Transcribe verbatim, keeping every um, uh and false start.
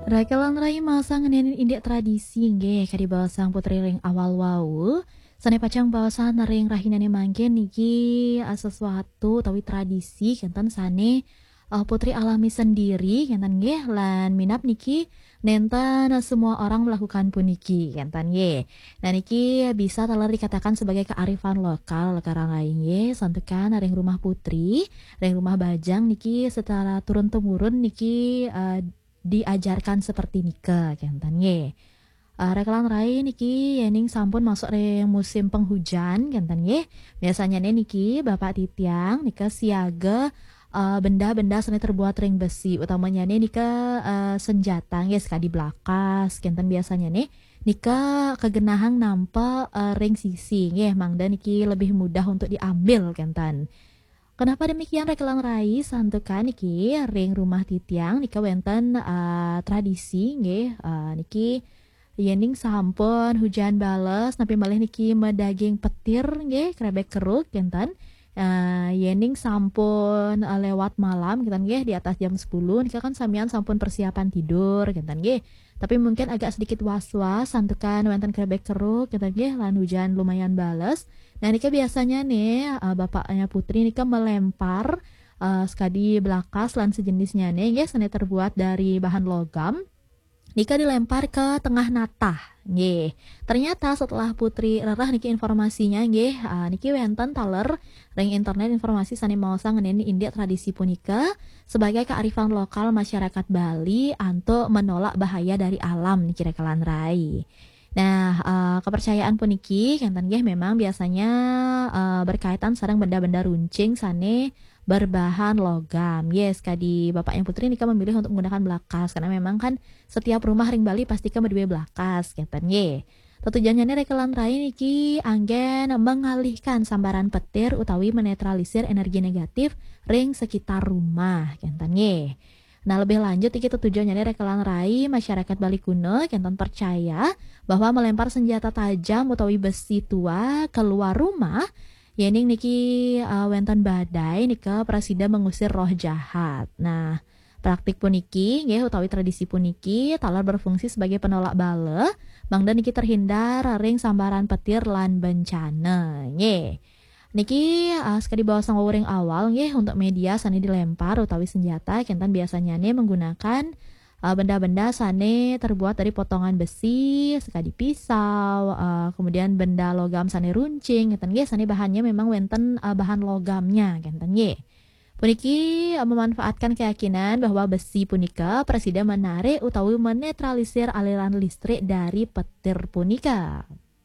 Rakelan rai masa ngenenin indik tradisi nggih, kadi baosang Putri ring awal wau. Sane pacang baosang ring rahinane mangkin niki, eh, sesuatu utawi tradisi kenten sane, eh, Putri alami sendiri kenten nggih, lan minab niki nenten semua orang melakukan puniki kenten nggih. Nah, niki bisa taler dikatakan sebagai kearifan lokal, Rakelan rai nggih, santukan ring rumah Putri, ring rumah bajang niki secara turun-temurun niki, eh, diajarkan seperti nika kenten nggih. Eh, Rakelan rai niki yening sampun masuk ring musim penghujan kenten nggih. Biasanyane niki bapak titiang nika siaga, eh, benda-benda sane terbuat ring besi, utamanyane nika, eh, senjata nggih, sekadi blakas kenten biasanyane nika kegenahang nampa, eh, ring sisi nggih, mangda niki lebih mudah untuk diambil kenten. Kenapa demikian, Rakelan rai? Santukan niki ring rumah titiang nika wenten, eh, tradisi nggih, eh, niki yening sampun hujan bales, napi malih niki madaging petir nggih, krebek keruk kenten. Eh, yening sampun, eh, lewat malam kenten nggih, di atas jam sepuluh nika kan samian sampun persiapan tidur kenten nggih. Tapi mungkin agak sedikit was-was santukan wenten krebek keruk kenten nggih, lan hujan lumayan bales. Nah, nika biasanya nih, eh, bapaknya Putri nika melempar, eh, sekadi blakas lan sejenisnya nih nggih, sane terbuat dari bahan logam. Nika dilempar ke tengah natah nggih. Ternyata setelah Putri rereh niki informasinya nggih, eh, niki wenten taler ring internet informasi sane maosang ngenenin indik tradisi punika sebagai kearifan lokal masyarakat Bali antuk menolak bahaya dari alam niki, Rakelan rai. Nah, eh, kepercayaan puniki kenten nggih memang biasanya, eh, berkaitan sareng benda-benda runcing sane berbahan logam. Yes, kadi bapaknya Putri nika memilih untuk menggunakan blakas karena memang kan setiap rumah ring Bali pasti ka madue blakas kenten nggih. Tetujonnyane, Rakelan rai niki anggen mengalihkan sambaran petir utawi menetralisir energi negatif ring sekitar rumah kenten nggih. Nah, lebih lanjut iki tetujonnyane, Rakelan rai, masyarakat Bali kuno kenten percaya bahwa melempar senjata tajam utawi besi tua keluar rumah, yening niki, eh, wenten badai nika prasida mengusir roh jahat. Nah, praktik puniki nggih utawi tradisi puniki taler berfungsi sebagai penolak bala, mangda niki terhindar ring sambaran petir lan bencana nggih. Niki, eh, sekadi baosang wau ring awal nggih, untuk media sane dilempar utawi senjata kenten biasanyane menggunakan, eh, benda-benda sane terbuat dari potongan besi, sekadi pisau, eh, kemudian benda logam sane runcing kenten nggih, sane bahannya memang wenten, eh, bahan logamnya kenten nggih. Puniki, eh, memanfaatkan keyakinan bahwa besi punika prasida menarik utawi menetralisir aliran listrik dari petir punika.